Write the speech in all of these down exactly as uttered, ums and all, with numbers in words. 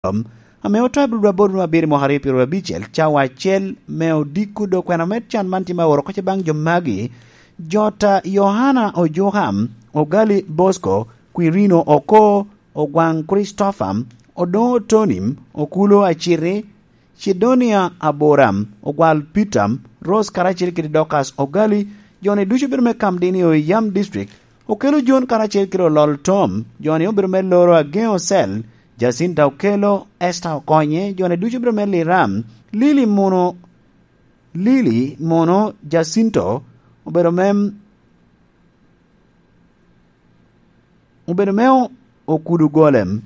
ame oto i Blue Board me abiro mwaka aryo pyeraryo abicel, cawa acel me odiko dok kwena me can man tye ma oro kocce baŋ jo magi. Jota Yohana Ojuka, Ogali Bosco, Quirino Oko, Ogwaŋ Christopher, Odoŋo Tony, Okulo Aciti, Cidonia Aburam, Ogwal Peter, Rose karacel kede Dorcas Ogali, jo-ni ducu obedo me Kamdini i Oyam District, Okelo Jon karacel kede Olol Tom, jo-ni obedo me loro Ageŋo Cell, Jacinta Okelo, Esther Okonye, jo-ni ducu obedo me Liram, Lili Muno, Lili Muno, Jacinto, obedo me, obedo me Okudu Golem.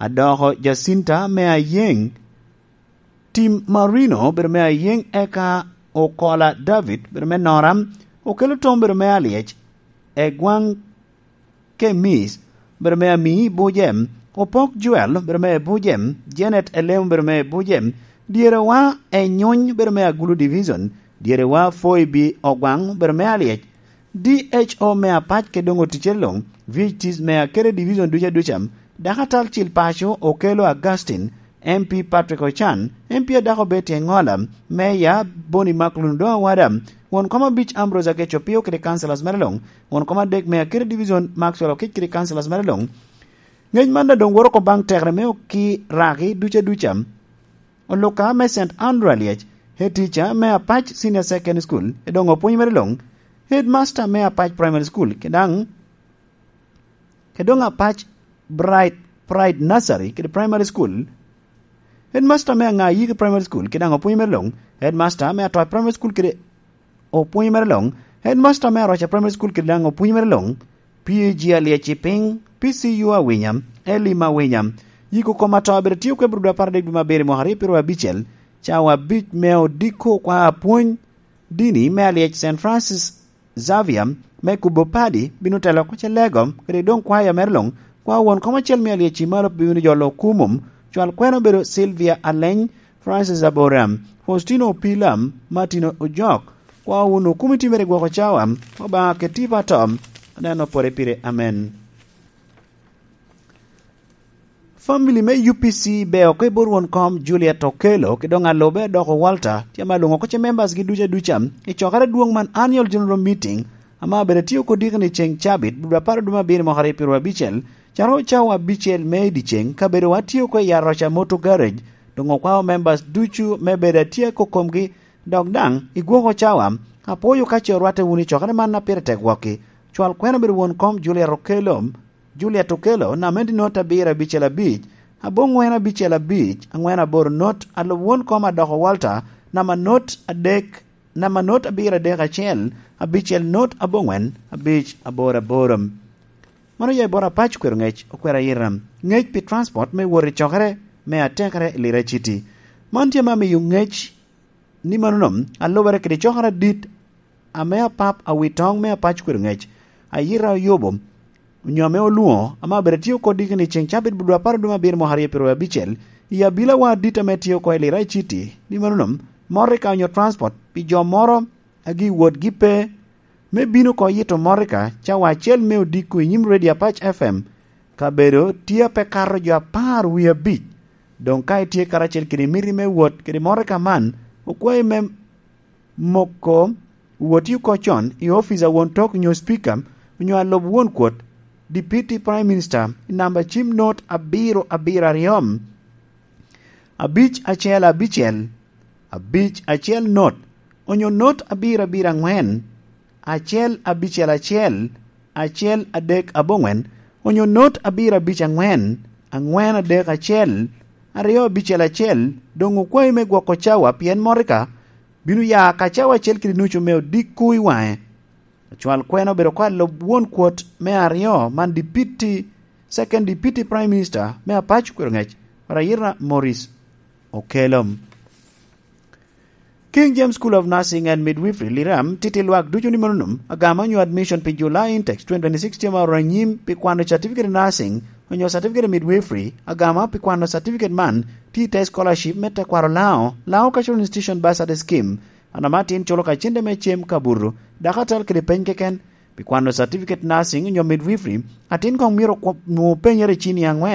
Adoko Jacinta me Ayeŋ, Tim Marino obedo me Ayeŋ, eka Okola David obedo me Nora, Okelo Tom obedo me Alyec, Egwaŋ Kemis obedo me Ami Bujem, Opok Joel obedo me Bujem, Janet Elem obedo me Bujem, Dyerewa Enyuny obedo me Agulu Division, Dyerewa Foibi Ogwaŋ obedo me Alyec, D H O me Apac kede doŋ oticere luŋ, V H Ts me Akere Division duca duca, Dakatal Cil Paco Okelo Augustine, M P Patrick Ochan, M P adako Betty Engola, Meya Boni Maklun Doŋ Awada, won kom abic Ambrose Ageco Pio kede councillors mere luŋ, won kom adek me Akere Division Maxwell Okic kede councillors mere luŋ. Ŋec man daŋ doŋ woro oko baŋ tekere me oki raki duca duca. Oluka me Saint Andrew Alyec, head teacher me Apac Senior Secondary School, edoŋo pwony mere luŋ, headmaster me Apac Primary School, kede daŋ, kede doŋ Apac Bright Pride Nursery kede Primary School, headmaster me Aŋa Yiki Primary School, kede daŋ opwony mere luŋ, headmaster me Atoa Primary School kede opwony mere luŋ, headmaster me Aroca Primary School kede daŋ opwony mere luŋ, P A G Alyec i piny, P C U Awinya, Eli Mawinya. Yiko kom ato abiro tio kwe brudo apar adek dwe me abiro mwaka aryo pyeraryo abicel, cawa abic me odiko kwa apwony dini me Alyec Saint Francis Xavier me kubo padi bino telo oko ce lego, kede doŋ kwaya mere luŋ, kwa won kom acel me Alyec i malo bino jolo kumum, cwal kwena obedo Sylvia Aleny, Francis Aboram, Faustino Opila, Martin Ojok, kwa wun okomiti mere gwoko cawa, Obaŋa keti pato, aneno pore pire, amen. Family me U P C be oko i bot won kom Juliet Okello, ki doŋ alube Adoko Walter, tye ma lwoŋo kocce members gi duca duca, i cokere dwoŋ man annual general meeting, ama abedo atio kodi keni ceŋ cabit, dwe apar dwe me abiro mwaka aryo pyeraryo abicel, caro cawa abicel me i dyeceŋ, kabedo atio ko i Aroca Motor Garage, doŋ okwao members ducu me bedo atye kokomgi, dok daŋ i gwoko cawa, apwoyo ka ce orwatte wunu i cokere man a pire tek wokki. Cwal kwena bedo won kom Juliet Okello, Juliet Okello, namba enti not abiro abicel abic, aboŋwen abicel abic, aŋwen aboro not, alub won kom Adoko Walter, namba not adek, namba not abiro adek acel, abicel not aboŋwen, abic aboro aboro. Mano oya i bot Apac Kwero Ŋec, Okwero Ayira. Ŋec pi transport me wot i cokere me atekere i Lira City. Man tye ma miyo ŋec ni mano nom, alubere kede cokere adit ame apap a wi toŋ me Apac Kwero Ŋec, Ayira Oyubo, onyo ame olwoŋo, ame abedo atio kodi keni ceŋ cabit budwa apar dwe me abiro mwaka aryo pyeraryo abicel, i abilawa adit ame tye oko i Lira City, ni mano nom, motoka onyo transport pi jo moro a gi wotgi pe, me bino oko yito motoka cawa acel me odiko i nyim Radio Apac F M, kabedo tye a pe kato jo apar wie abic. Doŋ ka itye karacel kede miti me wot kede motoka man, okwayi me moko woti oko con i ofice a won tok nyo Speaker, onyo alub won kwot, Deputy Prime Minister, i namba cim not abiro abiro aryo, abic acel abicel, abic acel not, onyo not abiro abiro aŋwen, acel abicel acel, acel adek aboŋwen, onyo not abiro abic aŋwen, aŋwen adek acel, aryo abicel acel, doŋ okwayi me gwoko cawa, pien motoka bino ya ka cawa acel kede nucu me odiko i waŋe. Acwal kwena obedo oko alub won kwot me aryo man Deputy, Second Deputy Prime Minister me Apac Kwero Ŋec, Rayira Morris Okello. King James School of Nursing and Midwifery, Liram, titi lwak ducu ni mano nom, agama onyo admission pi July Intex twenty twenty-six tye ma oro anyim pi kwano certificate of nursing onyo certificate of midwifery, agama pi kwano certificate man tye i te scholarship me tekwaro Lao, Lao Cultural Institution Bursary Scheme, an ama tin culo ka cente me cem kabuto, dakatal kede peny keken, Pi kwano certificate nursing onyo midwifery, atin koŋ myero okwo-, nwoŋ penyere i cini aŋwen.